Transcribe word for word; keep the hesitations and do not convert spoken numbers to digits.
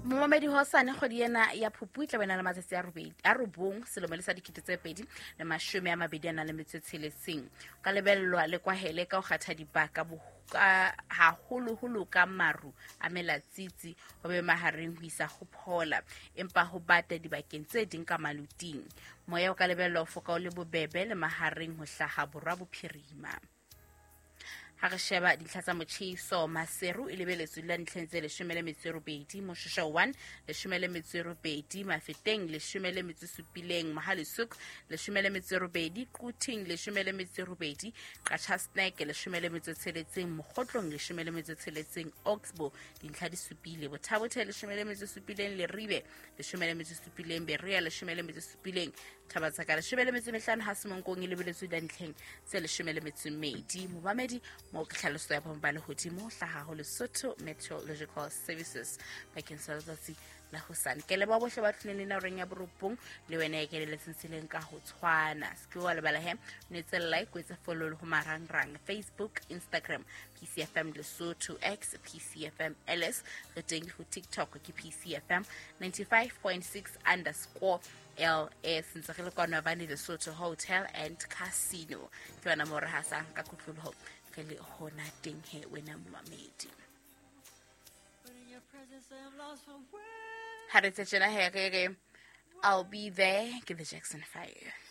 Momamedi, hosane kgwedi ena ya Phupu e tla be na le matsatsi a robedi a robong selemo le sa dikete tse pedi le mashome a mabedi a nang le metso e tsheletseng. Ka lebellwa le kwahele ka ho kgatha dibaka ka haholoholo ka maru a melatsitsi ho be mahareng ho isa ho phola, empa ho bata dibakeng tse ding ka maluting. Moya o ka lebellwa ho foka o le bobebe le mahareng ho hlaha borwa bophirima. Ha re sheba dintlha tsa motjheso, Maseru e lebeletswe la ntlheng tse leshome le metso e robedi, Moshoeshoe one leshome le metso e robedi, Mafeteng leshome le metso e supileng, Mohale'shoek leshome le metso e robedi, Quthing leshome le metso e robedi, Qacha's Nek leshome le metso e tsheletseng, Mokhotlong leshome le metso e tsheletseng, Oxbow dintlha di supile, Botha-Bothe leshome le metso e supileng, Leribe leshome le metso e supileng, Berea leshome le metso e supileng, Thaba-Tseka leshome le metso e mehlano, ha Semonkong e lebeletswe la ntlheng tse leshome le metso e mmedi. Momamedi, mo ke tlhaloso ya boemo ba lehodimo hlaha ho Lesotho Meteorological Services bakeng sa letsatsi la hosane. Ke leboha bohle ba tlileng le nna horeng ya borobong, le wena e keleletseng tseleng ka ho tshwana. Se ke wa lebala he, o etse like, o etse follow le ho marangrang Facebook, Instagram P C F M Lesotho, X P C F M L S, re teng ho TikTok ke P C F M ninety-five point six underscore L S. Ntse re le kwano Havana Lesotho Hotel and Casino. Ke yona mo re hasang ka kotloloho re le hona teng he wena momamedi. Ha re tse tjena he re re I'll be there ke the Jackson five.